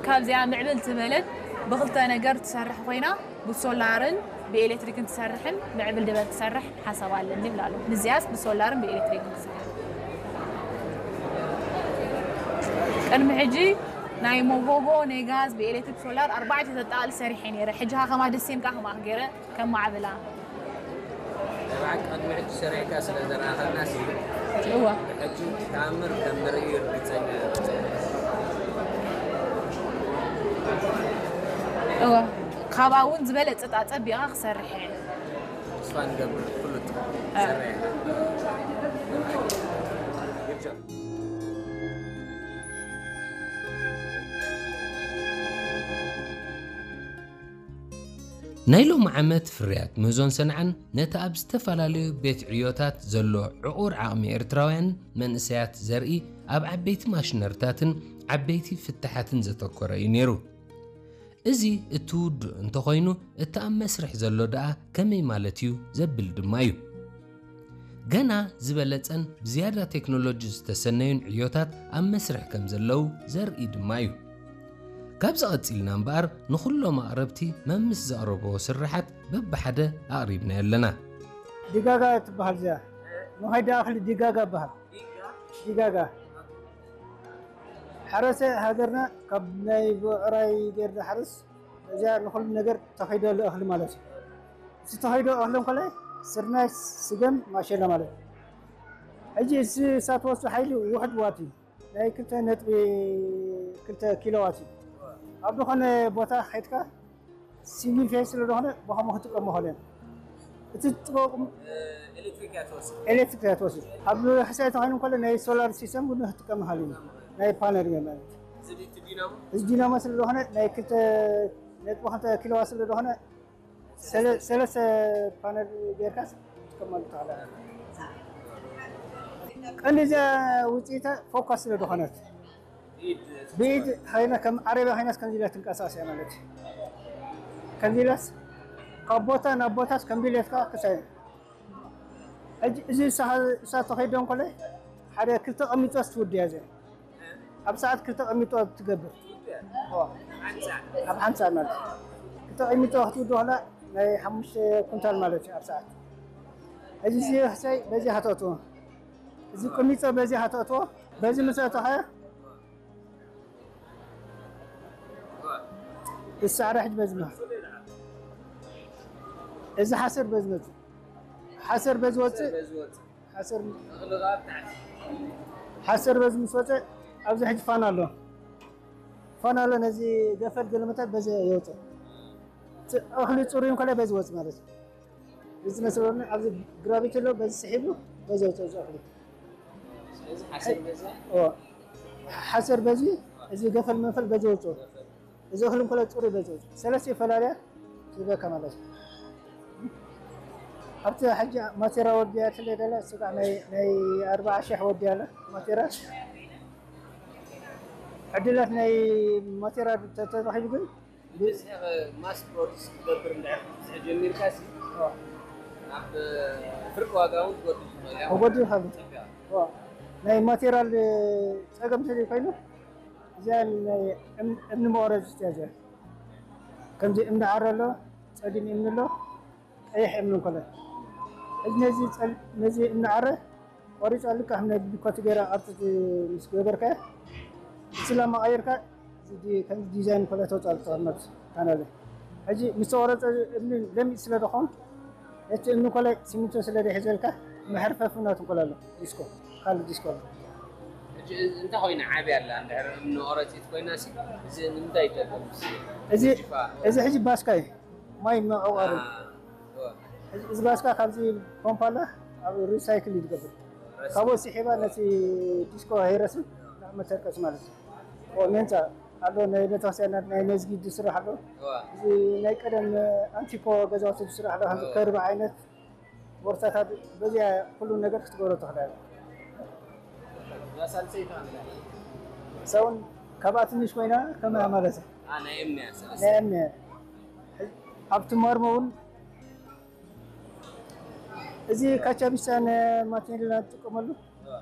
ካብዚኣ ምዕብል ዝበለት ብኽልተ ነገር ትሰርሕ ኮይና፣ ብሶላርን ብኤሌክትሪክን ትሰርሕን ምዕብል ዝበለት ትሰርሕ ሓሳብ ኣለኒ ይብላ ኣሎ። ንዚኣስ ብሶላርን ብኤሌክትሪክን ትሰርሕ። ቅድሚ ሕጂ ናይ መጎጎ፣ ናይ ጋዝ፣ ብኤሌክትሪክ፣ ሶላር ኣርባዕተ ተጠቓሊ ሰሪሐ ነይረ። ሕጂ ከማ ደሴም ከማ ገይረ ከማዕብላ። ንብዓት ቅድሚ ሕጂ ሰሪሕካ ስለ ዘረኣኸና ሲ እዋ ሕጂ ተኣምር ከም ንርኢ ርግፀኛ እዋ ካብኣ እውን ዝበለፀ ጣፀቢቓ ክሰርሕ እየ። ተስፋ ንገብር ፍሉጥ እ። ሰሪሕ ናይ ሎሚ ዓመት ፍርያት ምህዞን ሰንዓን ነቲ ኣብ ዝተፈላለዩ ቤት ዕዮታት ዘሎ ዕቑር ዓቕሚ ኤርትራውያን መንእሰያት ዘርኢ ኣብ ዓበይቲ ማሽነርታትን ዓበይቲ ፍታሓትን ዘተኮረ እዩ ነይሩ። እዚ እቲ ውዱእ እንተኾይኑ እቲ ኣብ መስርሕ ዘሎ ደኣ ከመይ ማለት እዩ ዘብል ድማ እዩ። ገና ዝበለጸን ብዝያዳ ቴክኖሎጂ ዝተሰነዩን ዕዮታት ኣብ መስርሕ ከም ዘለዉ ዘርኢ ድማ እዩ። ካብዚ ቐጺልና እምበኣር ንኹሎም ኣቕረብቲ መምስ ዘቕረብዎ ስርሓት በብሓደ ኣቕሪብናዮ ኣለና። ዲጋጋ ትበሃል እዚኣ። ንኸይዳ እኽሊ ዲጋጋ ይበሃል። ዲጋጋ ሓረሰ ሃገርና ካብ ናይ ብዕራይ ገይር ዝሓርስ እዚኣ ንኹሉ ነገር ተኸይደሉ እኽሊ ማለት እዩ። እቲ ተኸይዶ እኽሊ እንኮላይ ስርናይ፣ ስገም፣ ማሸላ ማለት እዩ። ሕጂ እሳ ትወስዶ ሓይሊ ውሕድ ዋት እዩ። ናይ ክልተ ነጥቢ ክልተ ኪሎ ዋት እዩ። ኣብ ዝኾነ ቦታ ከይድካ ሲንግል ፌዝ ስለ ዝኾነ ብኸምኡ ክትጥቀም ይኽእል እዮም። እቲ ትጥቀም ኤሌክትሪክ እያ ትወስድ ኤሌክትሪክ እያ ትወስድ። ኣብ ሕሳይ ተኾይኑ እንኮለ ናይ ሶላር ሲስተም ግን ክትጥቀም ይኽእል እዩ። ናይ ፓነል ማለት እዚ ድዩ እቲ ዲናሞ እዚ ዲናሞ ስለ ዝኾነ ናይ ክልተ ነጥቢ ክልተ ኪሎ ዋት ስለ ዝኾነ ሰለ- ሰለስተ ፓነል ጌርካ ትጥቀመሉ ትኽእል። ቀንዲ እዚኣ ውፅኢታ ፎካስ ስለ ዝኾነት ኢድ ብኢድ ኮይና ከም ዓረብያ ኮይናስ ከምዚ ኢላ ትንቀሳቀስ እያ ማለት እዩ። ከምዚ ኢላስ ካብ ቦታ ናብ ቦታስ ከምዚ ኢለትካ ክሳይ ሕጂ እዚ እሳ ተኸይዶ እንኮለ ሓደ ክልተ ቀሚጦስ ትውድያ እዚኣ ኣብ ሰዓት ክልተ ቀሚጦ ትገብር ኣብ ሓንሳ ማለት ክልተ ቀሚጦ ክትውድ ከላ ናይ ሓሙሽተ ኩንታል ማለት እዩ ኣብ ሰዓት። እዚ ሕሳይ በዚ ሃተቱ እዚ ቅሚጦ በዚ ሃተቱ በዚ ምስ ኣተኸ እሳዕረ ሕጂ በዚ መ እዚ ሓሰር በዚ መጽእ ሓሰር በዚ ወጽእ ሓሰር ሓሰር በዚ ምስ ወጸ ኣብዚ ሕጂ ፋን ኣሎ። ፋን ኣሎ ነዚ ገፈል ገለመታት በዚ የውጽእ። እኽሊ ጽሩይ እንኮላይ በዚ ወጽእ ማለት እዩ። እዚ መስለኒ ኣብዚ ግራቪቲ ኣሎ በዚ ስሒቡ በዚ ወጽእ እዚ እኽሊ ሓሰር በዚ እዚ ገፈል መንፈል በዚ ወጽእ። እዚ እኽሊ እንኮሎ ጽሩይ በዚ ሰለስተ ይፈላለያ ትህበካ ማለት እዩ። ኣብቲ ሕጂ ማቴራ ወዲያ ትለ ደለ ስጋዕ ናይ ናይ ኣርባዓ ሽሕ ወዲያ ኣለ ማቴራ ዕድላት ናይ ማቴራ ተተረኺቡ ግን ብዝሒ ማስ ፕሮዲስ ክትገብር እንድሕር ክትብዝሒ ጀሚርካ ሲ ናብ ፍርቂ ዋጋ እውን ትጎድል ትኽእል እያ መጎዲ ይኸሉ ናይ ማቴራል ጸገም ተዘይ ኮይኑ እዚኣ እምኒ መወረድ ዝትያ እዚኣ ከምዚ እምኒ ዓረ ኣሎ ጸሊም እምኒ ኣሎ ቀይሕ እምኒ እንኮለ እዚ ነዚ ነዚ እምኒ ዓረ ቆሪጻ ልካ ከም ናይ ዲኮቲ ገይራ ቅርጺ ምስ ገበርካ ስላ መቐየርካ ከም ዲዛይን ኮለ ተውጻእ ተቐመጥ ካናለ ሕጂ ምስ ተቆረጸ እምኒ ለሚጥ ስለ ዝኾን እቲ እምኒ ኮለ ሲሚንቶ ስለ ደሒዘልካ መሕርፈፊ ናቱ ኮለ ኣሎ ዲስኮ ካልእ ዲስኮ ኣሎ ሕጂ እንታይ ኮይና ዓብያ ኣላ እንድሕር እምኒ ቆረፂት ኮይና ሲ እዚ ንምንታይ ይጠቅም እዚ እዚ ሕጂ ባስካ እዩ ማይ መዕቆሪ እዚ ባስካ ካብዚ ፖምፓ ኣላ ኣብ ሪሳይክል ይትገብር ካብኡ ስሒባ ነቲ ዲስኮ ሃይረስን ናብ መተርቀስ ማለት እዩ ሜንጫ ኣሎ ናይ ቤተክርስትያናት ናይ መስጊድ ዝስራሕ ኣሎ እዚ ናይ ቀደም ኣንቲኮ ገዛውቲ ዝስራሕ ኣሎ ከምዚ ከርቢ ዓይነት ቦርሳታት በዚኣ ኩሉ ነገር ክትገብሮ ትኽእል እዛ ሳልሰይቲ ኣንላ ሰውን ካብኣ ትንሽ ኮይና ከመያ ማለት እዩ ናይ እምንያ ሰለስተ ናይ እምንያ ኣብቲ መርሞ እውን እዚ ካቻቢሳ ንማቴሪያል ንጥቀመሉ